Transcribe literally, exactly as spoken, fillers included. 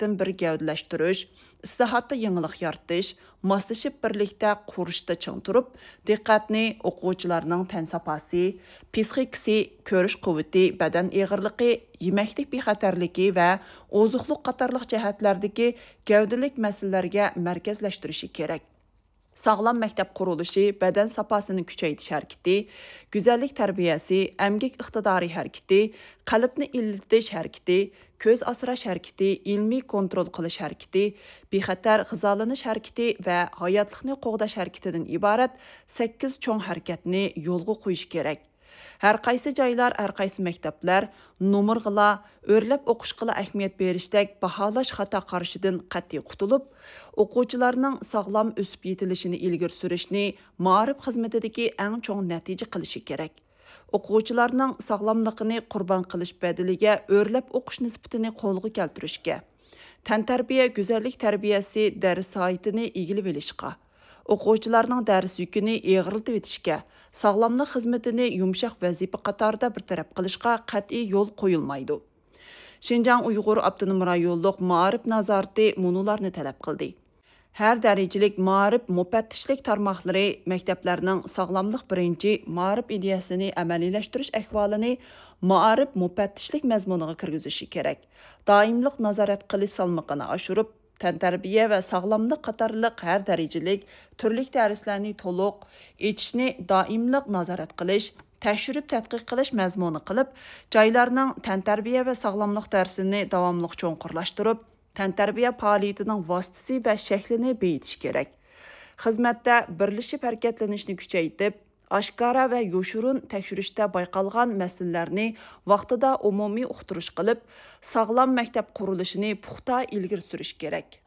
بىردىنبىر گەۋدىلەشتۈرۈش، ئىسلاھاتتا يېڭىلىق يارىتىش، ماسلىشىپ بىرلىكتە قۇرۇشتا چىڭ تۇرۇپ، دىققەتنى ئوقۇغۇچىلارنىڭ تەن ساپاسى، پىسخىكىسى، كۆرۈش قۇۋۋىتى، بەدەن ئېغىرلىقى، يېمەكلىك بىخەتەرلىكى ۋە ئوزۇقلۇق قاتارلىق جەھەتلەردىكى گەۋدىلىك مەسىلىلەرگە مەركەزلەشتۈرۈشى كېرەك. ساغلام مەكتەپ قۇرۇلۇشى، بەدەن ساپاسىنى كۈچەيتىش ھەرىكىتى، گۈزەللىك تەربىيەسى، ئەمگەك ئىقتىدارى ھەرىكىتى، قەلبنى ئىللىتىش ھەرىكىتى، كۆز ئاسراش ھەرىكىتى، ئىلمىي كونترول قىلىش ھەرىكىتى، بىخەتەر غىزالىنىش ھەرىكىتى ۋە ھاياتلىقنى قوغداش ھەرىكىتىدىن ئىبارەت سەككىز چوڭ ھەرىكەتنى يولغا قويۇش كېرەك. ھەر قايسى جايلار، ھەر قايسى مەكتەپلەر نومۇرغىلا، ئۆرلەپ ئوقۇشقىلا ئەھمىيەت بېرىشتەك باھالاش خاتا قارىشىدىن قەتئىي قۇتۇلۇپ، ئوقۇغۇچىلارنىڭ ساغلام ئۆسۈپ يېتىلىشىنى ئىلگىرى سۈرۈشنى مائارىپ خىزمىتىدىكى ئەڭ چوڭ نەتىجە قىلىشى كېرەك. ئوقۇغۇچىلارنىڭ ساغلاملىقىنى قۇربان قىلىش بەدىلىگە ئۆرلەپ ئوقۇش نىسبىتىنى قولغا كەلتۈرۈشكە، تەنتەربىيە گۈزەللىك تەربىيەسى دەرس سائىتىنى ئىگىلىۋېلىشقا، ئوقۇغۇچىلارنىڭ دەرس يۈكىنى ئېغىرلىتىۋېتىشكە، ساغلاملىق خىزمىتىنى يۇمشاق ۋەزىپە قاتارىدا بىر تەرەپ قىلىشقا قەتئىي يول قويۇلمايدۇ. شىنجاڭ ئۇيغۇر ئاپتونوم رايونلۇق مائارىپ نازارىتى مۇنۇلارنى تەلەپ قىلدى. ھەر دەرىجىلىك مائارىپ مۇپەتتىشلىك تارماقلىرى مەكتەپلەرنىڭ ساغلاملىق بىرىنچى مائارىپ ئىدىيەسىنى ئەمەلىيلەشتۈرۈش ئەھۋالىنى مائارىپ مۇپەتتىشلىك مەزمۇنىغا كىرگۈزۈشى كېرەك. دائىملىق نازارەت قىلىش سالمىقىنى ئاشۇرۇپ، تەنتەربىيە ۋە ساغلاملىق قاتارلىق ھەر دەرىجىلىك تۈرلۈك دەرسلەرنى تولۇق ئېچىشنى دائىملىق نازارەت قىلىش، تەكشۈرۈپ تەتقىق قىلىش مەزمۇنى قىلىپ، جايلارنىڭ تەنتەربىيە ۋە ساغلاملىق دەرسىنى داۋاملىق چوڭقۇرلاشتۇرۇپ، تەنتەربىيە پائالىيىتىنىڭ ۋاسىتىسى ۋە شەكلىنى بېيىتىش كېرەك. خىزمەتتە بىرلىشىپ ھەرىكەتلىنىشنى كۈچەيتىپ، ئاشكارا ۋە يوشۇرۇن تەكشۈرۈشتە بايقالغان مەسىلىلەرنى ۋاقتىدا ئومۇمىي ئۇقتۇرۇش قىلىپ، ساغلام مەكتەپ قۇرۇلۇشىنى پۇختا ئىلگىرى سۈرۈش كېرەك.